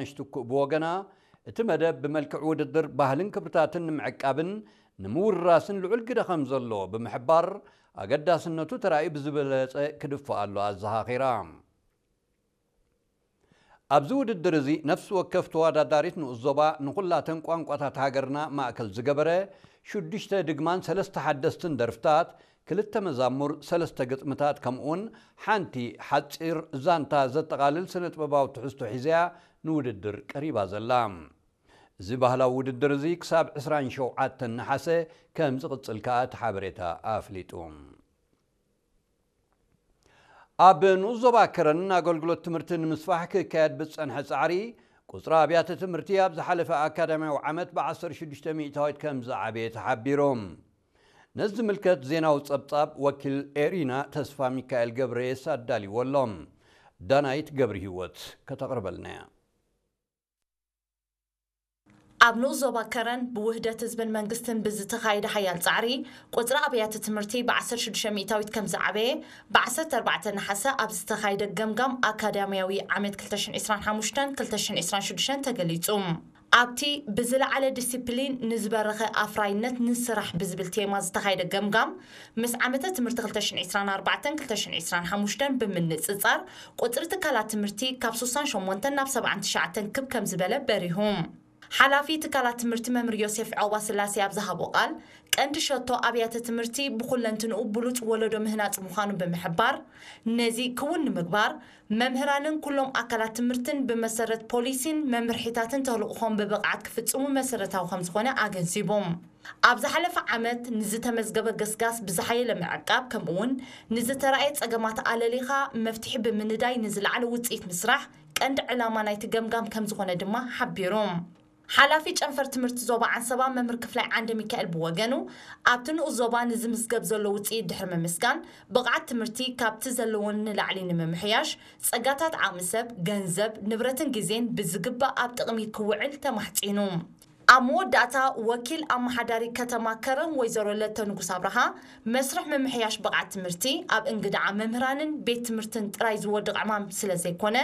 ነሽትኩእ ብወገና፣ እቲ መደብ ብመልክዕ ውድድር ባህልን ክብርታትን ንምዕቃብን ንምውራስን ልዑል ግደ ከም ዘሎ ብምሕባር፣ ኣገዳስነቱ ተራእዩ ብዝበለጸ ክድፋኣሉ ኣዘኻኺራ። ኣብዚ ውድድር እዚ ነፍሲ ወከፍ ተወዳዳሪት ንኡስ ዞባ ንኹላተን ቋንቋታት ሃገርና ማእከል ዝገበረ ሽዱሽተ ድግማን ሰለስተ ሓደስትን ደርፍታት፣ ክልተ መዛሙር፣ ሰለስተ ግጥምታት ከምኡውን ሓንቲ ሓጺር ዛንታ ዘጠቓልል ስነ ጥበባዊ ትሕዝቶ ሒዘያ ንውድድር ቀሪባ ዘላ። እዚ ባህላዊ ውድድር እዚ ክሳብ ዕስራን ሸውዓተን ነሓሰ ከም ዝቕጽል ከኣ እቲ ሓበሬታ ኣፍሊጡ። ኣብ ንኡስ ዞባ ከረን ኣገልግሎት ትምህርቲ ንምስፋሕ ክካየድ ብዝጸንሐ ጻዕሪ፣ ቁጽሪ ኣብያተ ትምህርቲ ኣብ ዝሓለፈ ኣካዳሚያዊ ዓመት ብ16 ሚእታዊት ከም ዝዓበየ ተሓቢሮም። ነዚ ዝምልከት ዜናዊ ጸብጻብ ወኪል ኤሪና ተስፋ ሚካኤል ገብረየስ ኣዳልዎ ኣሎ። ዳናይት ገብሪ ህይወት ከተቕርበልና እያ። ኣብ ንኡስ ዞባ ከረን ብውህደት ህዝብን መንግስትን ብዝተኻየደ ሓያል ጻዕሪ፣ ቁጽሪ ኣብያተ ትምህርቲ ብ16 ሚእታዊት ከም ዝዓበየ፣ ብ14 ነሓሰ ኣብ ዝተኻየደ ገምጋም ኣካዳሚያዊ ዓመት ክልተ ሽሕን ዕስራን ሓሙሽተን ክልተ ሽሕን ዕስራን ሽዱሽተን ተገሊጹ። ኣብቲ ብዝለዓለ ዲሲፕሊን ንዝበረኸ ኣፍራይነት ንስራሕ ብዝብል ቴማ ዝተኻየደ ገምጋም፣ ምስ ዓመተ ትምህርቲ ክልተ ሽሕን ዕስራን ኣርባዕተን ክልተ ሽሕን ዕስራን ሓሙሽተን ብምንጽጻር፣ ቁጽሪ ትካላት ትምህርቲ ካብ ስሳን ሸሞንተን ናብ ሰብዓን ትሽዓተን ክብ ከም ዝበለ በሪሁ። ሓላፊ ትካላት ትምህርቲ መምህር ዮሴፍ ዖባ ስላሴ ኣብ ዝሃቦ ቃል፣ ቀንዲ ሸቶ ኣብያተ ትምህርቲ ብኹለንትንኡ ብሉጽ ወለዶ ምህናጽ ምዃኑ ብምሕባር፣ ነዚ ክውን ንምግባር መምህራንን ኩሎም ኣካላት ትምህርትን ብመሰረት ፖሊሲን መምርሒታትን ተልእኾም ብብቕዓት ክፍጽሙ መሰረታዊ ከም ዝኾነ ኣገንዚቦም። ኣብ ዝሓለፈ ዓመት ንዝተመዝገበ ገስጋስ ብዝሓየለ ምዕቃብ፣ ከምኡውን ንዝተራእየ ጸገማት ኣለሊኻ መፍትሒ ብምንዳይ ንዝለዓለ ውጽኢት ምስራሕ ቀንዲ ዕላማ ናይቲ ገምጋም ከም ዝኾነ ድማ ሓቢሩ። ሓላፊ ጨንፈር ትምህርቲ ዞባ ዓንሰባ መምህር ክፍላይ ዓንደ ሚካኤል ብወገኑ፣ ኣብቲ ንኡስ ዞባ ንዝምዝገብ ዘሎ ውጽኢት ድሕሪ ምምስጋን፣ ብቕዓት ትምህርቲ ካብቲ ዘለዎን ንላዕሊ ንምምሕያሽ፣ ጸጋታት ዓቕሚ ሰብ፣ ገንዘብ፣ ንብረትን ግዜን ብዝግባእ ኣብ ጥቕሚ ክውዕል ተማሕጺኑ። ኣብ መወዳእታ፣ ወኪል ኣመሓዳሪ ከተማ ከረን ወይዘሮ ለተ ንጉስ ኣብርሃ፣ መስርሕ ምምሕያሽ ብቕዓት ትምህርቲ ኣብ እንግድዓ መምህራንን ቤት ትምህርትን ጥራይ ዝወድቕ ዕማም ስለ ዘይኮነ፣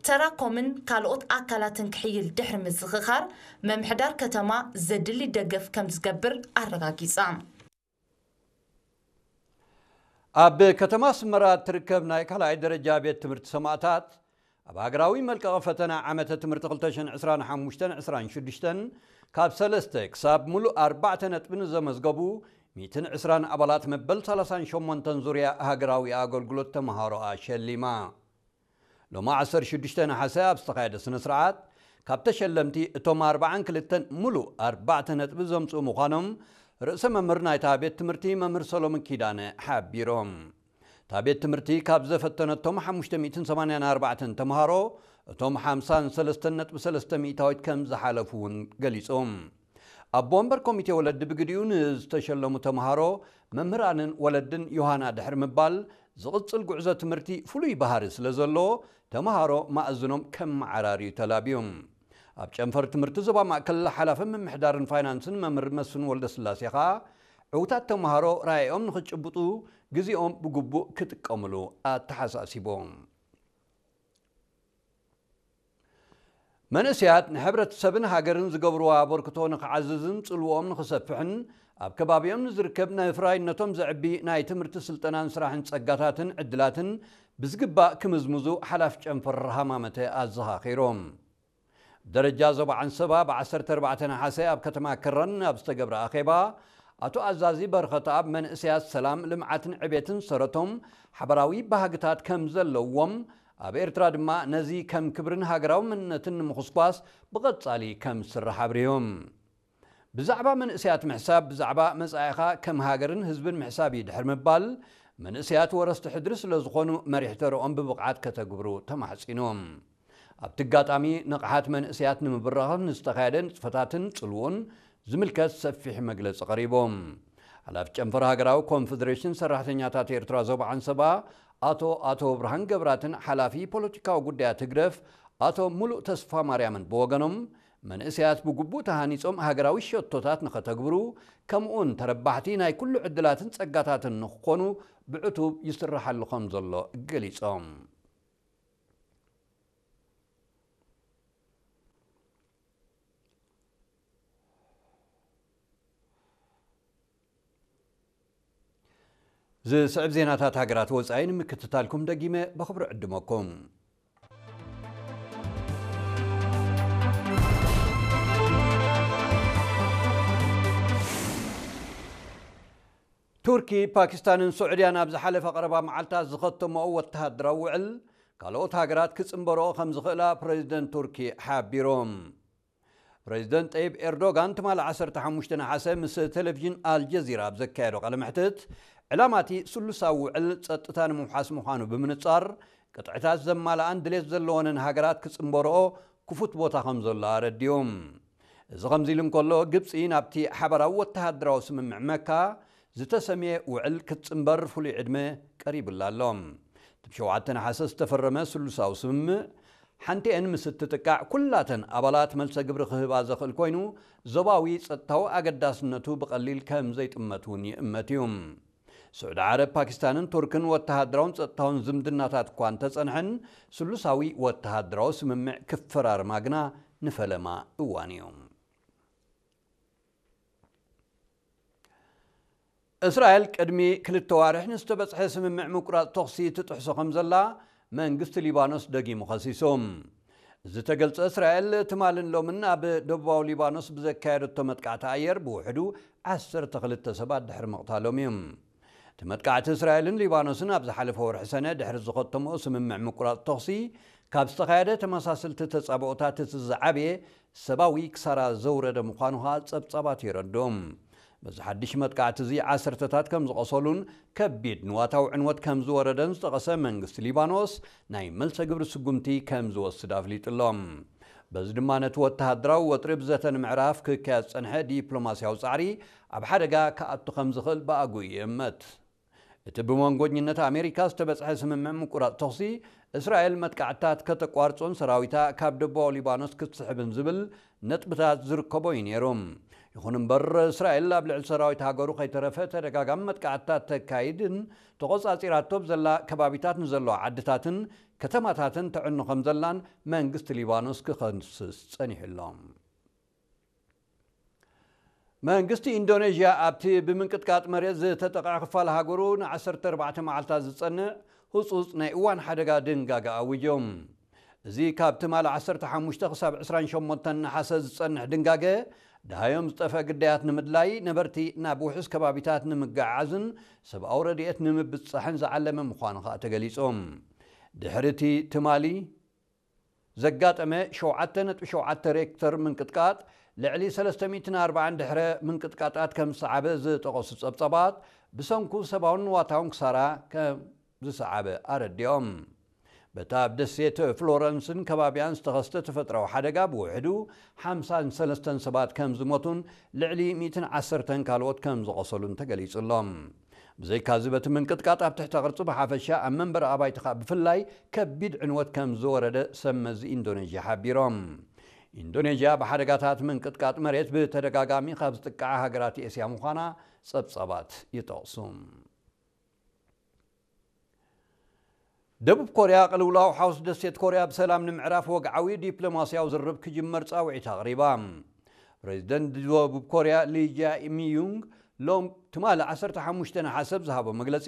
ተራኮምን ካልኦት ኣካላትን ክሕይል ድሕሪ ምዝኽኻር፣ ምምሕዳር ከተማ ዘድሊ ደገፍ ከም ዝገብር ኣረጋጊጻ። ኣብ ከተማ ኣስመራ እትርከብ ናይ ካልኣይ ደረጃ ቤት ትምህርቲ ሰማእታት፣ ኣብ ሃገራዊ መልቀቒ ፈተና ዓመተ ትምህርቲ ክልተ ሽሕን ዕስራን ሓሙሽተን ዕስራን ሽዱሽተን ካብ ሰለስተ ክሳብ ምሉእ ኣርባዕተ ነጥቢ ንዘመዝገቡ ሚእትን ዕስራን ኣባላት መበል ሰላሳን ሸሞንተን ዙርያ ሃገራዊ ኣገልግሎት ተምሃሮኣ ሸሊማ። ሎሚ ዓሰርተ ሽዱሽተ ነሓሰ ኣብ ዝተኻየደ ስነ ስርዓት፣ ካብ ተሸለምቲ እቶም ኣርባዓን ክልተን ምሉእ ኣርባዕተ ነጥቢ ዘምጽኡ ምዃኖም ርእሰ መምህር ናይታ ቤት ትምህርቲ መምህር ሰሎሞን ኪዳነ ሓቢሮም። እታ ቤት ትምህርቲ ካብ ዘፈተነቶም ሓሙሽተ ሚእትን ሰማንያን ኣርባዕተን ተምሃሮ፣ እቶም ሓምሳን ሰለስተን ነጥቢ ሰለስተ ሚእታዊት ከም ዝሓለፉ እውን ገሊጾም። ኣቦ ወንበር ኮሚቴ ወለዲ ብግዲኡ ንዝተሸለሙ ተምሃሮ፣ መምህራንን ወለድን ዮሃና ድሕሪ ምባል፣ ዝቕጽል ጉዕዞ ትምህርቲ ፍሉይ ባህሪ ስለ ዘለዎ፣ ተምሃሮ ማእዝኖም ከመዓራርዩ ተላብዮም። ኣብ ጨንፈር ትምህርቲ ዞባ ማእከል ሓላፊ ምምሕዳርን ፋይናንስን መምህር መስፍን ወልደስላሴ ኸኣ፣ ዕዉታት ተምሃሮ ራእዮም ንኽጭብጡ ግዜኦም ብግቡእ ክጥቀምሉ ኣተሓሳሲቦም። መንእሰያት ንሕብረተሰብን ሃገርን ዝገብርዎ ኣበርክቶ ንኽዓዝዝን ጽልውኦም ንኽሰፍሕን ኣብ ከባቢኦም ንዝርከብ ንፍራይነቶም ዘዕቢ ናይ ትምህርቲ ስልጠናን ስራሕን ጸጋታትን ዕድላትን ብዝግባእ ክምዝምዙ ሓላፊ ጨንፈር ሃማመተ ኣዘኻኺሮም። ደረጃ ዞባ ዓንሰባ ብ ዓሰርተ ኣርባዕተ ነሓሰ ኣብ ከተማ ከረን ኣብ ዝተገብረ ኣኼባ፣ ኣቶ ኣዛዚ በረኸተኣብ መንእሰያት ሰላም፣ ልምዓትን ዕቤትን ሰረቶም ሓበራዊ ባህግታት ከም ዘለዎም፣ ኣብ ኤርትራ ድማ ነዚ ከም ክብርን ሃገራዊ መንነትን ንምኹስኳስ ብቐጻሊ ከም ዝስራሕ ኣብሪሆም። ብዛዕባ መንእሰያት ምሕሳብ፣ ብዛዕባ መጻኢኻ ከም ሃገርን ህዝብን ምሕሳብ እዩ ድሕሪ ምባል፣ መንእሰያት ወረስቲ ሕድሪ ስለ ዝኾኑ መሪሕ ተረኦም ብብቕዓት ከተግብሩ ተማሕጺኖም። ኣብቲ ኣጋጣሚ፣ ንቕሓት መንእሰያት ንምብራኽ ንዝተኻየደ ንጥፈታትን ጽልውኡን ዝምልከት ሰፊሕ መግለጺ ቀሪቦም። ሓላፊ ጨንፈር ሃገራዊ ኮንፈደሬሽን ሰራሕተኛታት ኤርትራ ዞባ ዓንሰባ ኣቶ ኣቶ ብርሃን ገብራትን ሓላፊ ፖለቲካዊ ጉዳያት ህግደፍ ኣቶ ሙሉእ ተስፋ ማርያምን ብወገኖም፣ መንእሰያት ብግቡእ ተሃኒጾም ሃገራዊ ሸቶታት ንኸተግብሩ፣ ከምኡውን ተረባሕቲ ናይ ኩሉ ዕድላትን ጸጋታትን ንኽኾኑ ብዕቱብ ይስርሓሉ ከም ዘሎ ገሊጾም። ዝስዕብ ዜናታት ሃገራት ወጻኢ ንምክትታልኩም ደጊመ ብኽብሪ ዕድመኩም። ቱርኪ፣ ፓኪስታንን ስዑድያን ኣብ ዝሓለፈ ቀረባ መዓልታት ዝኸተመኦ ወተሃደራዊ ውዕል፣ ካልኦት ሃገራት ክጽንበርኦ ከም ዝኽእላ ፕረዚደንት ቱርኪ ሓቢሮም። ፕረዚደንት ጠይብ ኤርዶጋን ትማሊ ዓሰርተ ሓሙሽተ ነሓሰ ምስ ቴሌቪዥን ኣልጀዚራ ኣብ ዘካየዶ ቃለ መሕትት፣ ዕላማቲ ስሉሳዊ ውዕል ጸጥታ ንምውሓስ ምዃኑ ብምንጻር፣ ቅጥዕታት ዘማልኣን ድሌት ዘለወንን ሃገራት ክጽንበርኦ ክፉት ቦታ ከም ዘሎ ኣረዲኡ። እዚ ከምዚ ኢሉ እንከሎ፣ ግብጺ ናብቲ ሓባራዊ ወተሃደራዊ ስምምዕ መካ ዝተሰምየ ውዕል ክትጽንበር ፍሉይ ዕድመ ቀሪቡላ ኣሎ። እቲ ብሸውዓተ ነሓሰ ዝተፈረመ ስሉሳዊ ስምምዕ፣ ሓንቲአን ምስ እትጥቃዕ፣ ኩላተን ኣባላት መልሰ ግብሪ ክህባ ዘኽእል ኮይኑ፣ ዞባዊ ጸጥታዊ ኣገዳስነቱ ብቐሊል ከም ዘይጥመት እውን ይእመት እዩ። ስዑዲ ዓረብ፣ ፓኪስታንን ቱርክን ወተሃደራውን ጸጥታውን ዝምድናታት እኳ እንተጸንሐን፣ ስሉሳዊ ወተሃደራዊ ስምምዕ ክፈራርማ ግና ንፈለማ እዋን እዩ። እስራኤል ቅድሚ ክልተ ዋርሕ ንዝተበጽሐ ስምምዕ ምቁራጽ ተኹሲ ትጥሕሶ ከም ዘላ መንግስቲ ሊባኖስ ደጊሙ ከሲሱ። ዝተገልጸ እስራኤል ትማልን ሎምን ኣብ ደቡባዊ ሊባኖስ ብዘካየደቶ መጥቃዕቲ ኣየር ብውሕዱ ዓሰርተ ክልተ ሰባት ድሕሪ ምቕታሎም እዩ። እቲ መጥቃዕቲ እስራኤልን ሊባኖስን ኣብ ዝሓለፈ ወርሒ ሰነ ድሕሪ ዝኸተምኦ ስምምዕ ምቁራጽ ተኹሲ ካብ ዝተኻየደ ተመሳሰልቲ ተጻብኦታት እቲ ዝዓበየ ሰብኣዊ ክሳራ ዘውረደ ምዃኑ ከኣ ጸብጻባት የረድኡ። በዚ ሓድሽ መጥቃዕቲ እዚ ዓሰርተታት ከም ዝቐሰሉን ከቢድ ንዋታዊ ዕንወት ከም ዝወረደን ዝጠቐሰ መንግስቲ ሊባኖስ፣ ናይ መልሰ ግብሪ ስጉምቲ ከም ዝወስድ ኣፍሊጡ ኣሎ። በዚ ድማ ነቲ ወተሃደራዊ ወጥሪ ብዘተ ንምዕራፍ ክካየድ ዝጸንሐ ዲፕሎማስያዊ ጻዕሪ ኣብ ሓደጋ ክኣቱ ከም ዝኽእል ብኣግኡ ይእመት። እቲ ብመንጎኝነት ኣሜሪካ ዝተበጽሐ ስምምዕ ምቁራጽ ተኹሲ፣ እስራኤል መጥቃዕትታት ከተቋርጾን ሰራዊታ ካብ ደቡባዊ ሊባኖስ ክትስሕብን ዝብል ነጥብታት ዝርከቦ እዩ ነይሩ። ይኹን እምበር፣ እስራኤል ኣብ ልዕሊ ሰራዊት ሃገሩ ከይተረፈ ተደጋጋሚ መጥቃዕትታት ተካይድን ተቖጻጺራቶ ብዘላ ከባቢታት ንዘለዋ ዓድታትን ከተማታትን ተዕኑ ከም ዘላን መንግስቲ ሊባኖስ ክኸስስ ጸኒሑ ኣሎ። መንግስቲ ኢንዶኔዥያ ኣብቲ ብምንቅጥቃጥ መሬት ዝተጠቕዐ ክፋል ሃገሩ ንዓሰርተ ኣርባዕተ መዓልታት ዝጸንዕ ህጹጽ ናይ እዋን ሓደጋ ድንጋገ ኣዊጆም። እዚ ካብ ትማሊ ዓሰርተ ሓሙሽተ ክሳብ ዕስራን ሸሞንተን ነሓሰ ዝጸንሕ ድንጋገ፣ ደሃዮም ዝጠፍአ ግዳያት ንምድላይ፣ ነበርቲ ናብ ውሑስ ከባቢታት ንምግዕዓዝን ሰብኣዊ ረድኤት ንምብጻሕን ዝዓለመ ምዃኑ ከኣ ተገሊጹ። ድሕሪ እቲ ትማሊ ዘጋጠመ ሸውዓተ ነጥቢ ሸውዓተ ሬክተር ምንቅጥቃጥ፣ ልዕሊ ሰለስተ ሚእትን ኣርባዓን ድሕረ ምንቅጥቃጣት ከም ዝሰዓበ ዝጠቐሱ ጸብጻባት፣ ብሰንኩ ሰብኣውን ንዋታውን ክሳራ ከም ዝሰዓበ ኣረዲኦም። በታ ኣብ ደሴት ፍሎረንስን ከባቢያን ዝተኸስተ ተፈጥራዊ ሓደጋ ብውሕዱ ሓምሳን ሰለስተን ሰባት ከም ዝሞቱን ልዕሊ ሚእትን ዓሰርተን ካልኦት ከም ዝቖሰሉን ተገሊጹ ኣሎ። ብዘይካዚ፣ በቲ ምንቅጥቃጥ ኣብ ትሕተ ቅርጺ ብሓፈሻ፣ ኣብ መንበሪ ኣባይቲ ከኣ ብፍላይ ከቢድ ዕንወት ከም ዝወረደ ሰብ መዚ ኢንዶኔዥያ ሓቢሮም። ኢንዶኔዥያ ብሓደጋታት ምንቅጥቃጥ መሬት ብተደጋጋሚ ካብ ዝጥቅዓ ሃገራት ኤስያ ምዃና ጸብጻባት ይጠቕሱ። ደቡብ ኮርያ፣ ቅልውላው ሓውስ ደሴት ኮርያ ብሰላም ንምዕራፍ ወግዓዊ ዲፕሎማስያዊ ዝርርብ ክጅመር ጻውዒት ኣቕሪባ። ፕሬዚደንት ደቡብ ኮርያ ሊ ጃ ሚዩንግ ሎም ትማሊ ዓሰርተ ሓሙሽተ ነሓሰ ኣብ ዝሃቦ መግለጺ፣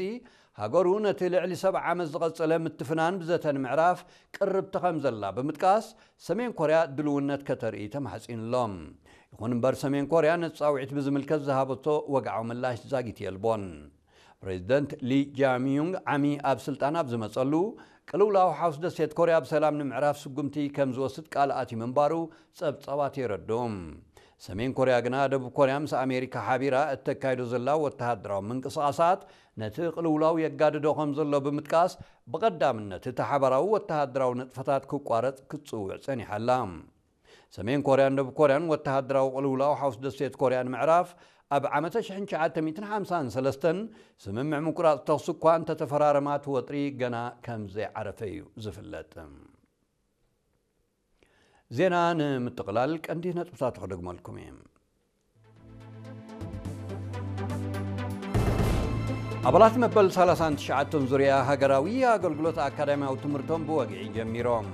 ሃገሩ ነቲ ልዕሊ ሰብዓ ዓመት ዝቐጸለ ምትፍናን ብዘተ ንምዕራፍ ቅርብቲ ከም ዘላ ብምጥቃስ፣ ሰሜን ኮርያ ድልውነት ከተርኢ ተማሕጺኑ ኣሎ። ይኹን እምበር፣ ሰሜን ኮርያ ነቲ ጻውዒት ብዝምልከት ዝሃበቶ ወግዓዊ ምላሽ ዛጊት የልቦን። ፕሬዚደንት ሊ ጃሚዩንግ ዓሚ ኣብ ስልጣን ኣብ ዝመጸሉ፣ ቅልውላው ሓውስ ደሴት ኮርያ ብሰላም ንምዕራፍ ስጉምቲ ከም ዝወስድ ቃል ኣትዩ ምንባሩ ጸብጻባት የረድኡ። ሰሜን ኮርያ ግና፣ ደቡብ ኮርያ ምስ ኣሜሪካ ሓቢራ እተካይዶ ዘላ ወተሃደራዊ ምንቅስቓሳት ነቲ ቅልውላው የጋድዶ ከም ዘሎ ብምጥቃስ፣ ብቐዳምነት እቲ ሓባራዊ ወተሃደራዊ ንጥፈታት ክቋረጽ ክትጽውዕ ጸኒሓ ኣላ። ሰሜን ኮርያን ደቡብ ኮርያን ወተሃደራዊ ቅልውላው ሓውስ ደሴት ኮርያ ንምዕራፍ ኣብ ዓመተ ሽሕን ትሽዓተ ሚእትን ሓምሳን ሰለስተን ስምምዕ ምቁራጽ ተኹሲ እኳ እንተተፈራረማ፣ እቲ ወጥሪ ገና ከም ዘይዓረፈ እዩ ዝፍለጥ። ዜና ንምጥቕላል ቀንዲ ነጥብታቱ ክደግመልኩም እየ። ኣባላት መበል ሰላሳን ትሽዓተን ዙርያ ሃገራዊ ኣገልግሎት ኣካዳሚያዊ ትምህርቶም ብወግዒ ጀሚሮም።